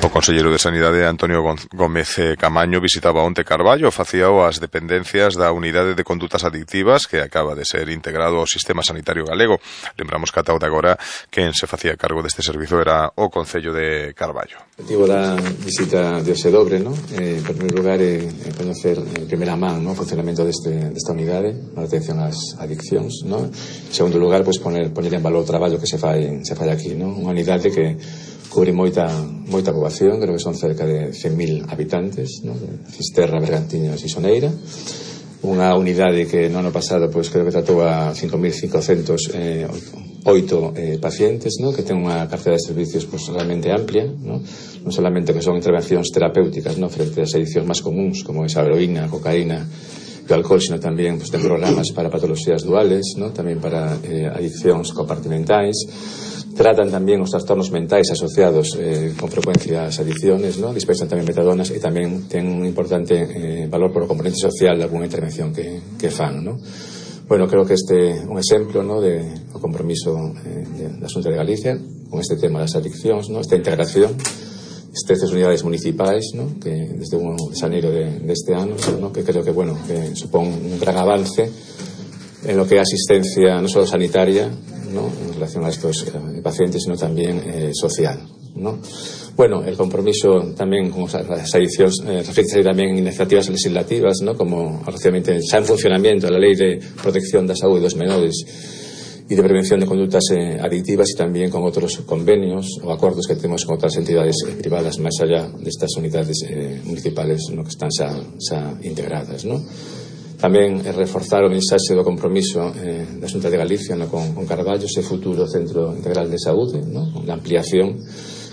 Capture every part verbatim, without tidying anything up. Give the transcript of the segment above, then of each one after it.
O conselleiro de Sanidade Antonio Gómez Camaño visitaba onte Carballo, facíao as dependencias da Unidade de Condutas Adictivas que acaba de ser integrado ao sistema sanitario galego. Lembramos que ata de agora quen se facía cargo deste servizo era o Concello de Carballo. O objetivo da visita de hoxe dobre, ¿no? Eh, en primeiro lugar, é eh, coñecer en primeira man, ¿no?, o funcionamento deste, desta unidade para atención ás adiccións, ¿no? En segundo lugar, pues, poner, poner en valor o traballo que se fai, se fai aquí, ¿no? Unha unidade que cubre moita, moita poboación, creo que son cerca de cen mil habitantes, ¿no? Fisterra, Bergantiños e Soneira. Unha unidade que no ano pasado pues, creo que tratou a cinco mil cincocentos oito eh, pacientes, ¿no? Que ten unha cartera de servicios pues, realmente amplia, ¿no? Non solamente que son intervencións terapéuticas, ¿no?, frente ás adiccións máis comuns como esa heroína, cocaína e o alcohol, sino tamén pues, ten programas para patologías duales, ¿no?, tamén para eh, adiccións compartimentais. Tratan tamén os trastornos mentais asociados eh, con frecuencia ás adicciones, ¿no? Dispensan tamén metadonas e tamén ten un importante eh, valor por o componente social de alguna intervención que, que fan, ¿no? Bueno, creo que este é un exemplo, ¿no?, de o compromiso eh, da Xunta de Galicia con este tema das adiccións, ¿no?, esta integración, estas unidades municipais, ¿no?, que desde o de xaneiro de, deste ano, ¿no?, que creo que, bueno, que supón un gran avance en lo que é asistencia non só sanitaria, ¿no?, en relación a estos eh, pacientes, sino tamén eh, social, ¿no? Bueno, el compromiso tamén con as adiccións eh, reflexe tamén en iniciativas legislativas, ¿no?, como recientemente xa en funcionamiento a Lei de Protección da Saúde dos Menores e de Prevención de Conductas eh, Adictivas, e tamén con outros convenios ou acordos que temos con outras entidades eh, privadas máis allá destas unidades eh, municipales, ¿no?, que están xa, xa integradas, ¿no? Tamén reforzar o mensaxe do compromiso eh, da Xunta de Galicia, no, con, con Carballo, ese futuro Centro Integral de Saúde, no, a ampliación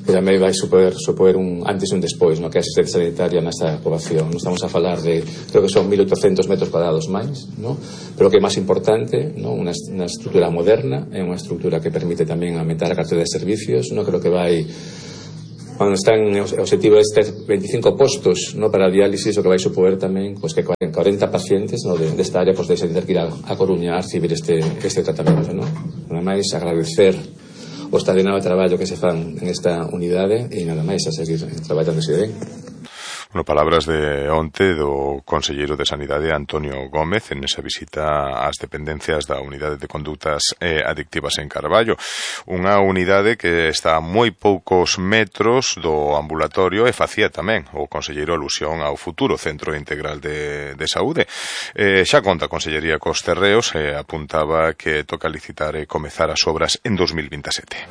que tamén vai supoer, supoer un antes e un despois, no, que é a asistencia sanitaria nesta poboación. Non estamos a falar de, creo que son mil oitocentos metros cuadrados máis, no, pero o que é máis importante, no, unha, unha estrutura moderna, é unha estrutura que permite tamén aumentar a cartera de servicios, no, creo que vai, cando están o objetivo este veinticinco postos, no, para a diálisis, o que vai supoer tamén pues, que cuarenta pacientes, no, de, desta área pues, deixen de ter que ir a, a Coruña a recibir este, este tratamento, no? Nada máis agradecer o extraordinario traballo que se fan en esta unidade e nada máis a seguir traballando se ben. Bueno, palabras de onte do conselleiro de Sanidade Antonio Gómez en esa visita ás dependencias da Unidade de Condutas eh, Adictivas en Carballo. Unha unidade que está a moi poucos metros do ambulatorio e facía tamén o conselleiro alusión ao futuro Centro Integral de, de Saúde. Eh, xa conta a Consellería cos terreos e eh, apuntaba que toca licitar e comezar as obras en dos mil veintisiete.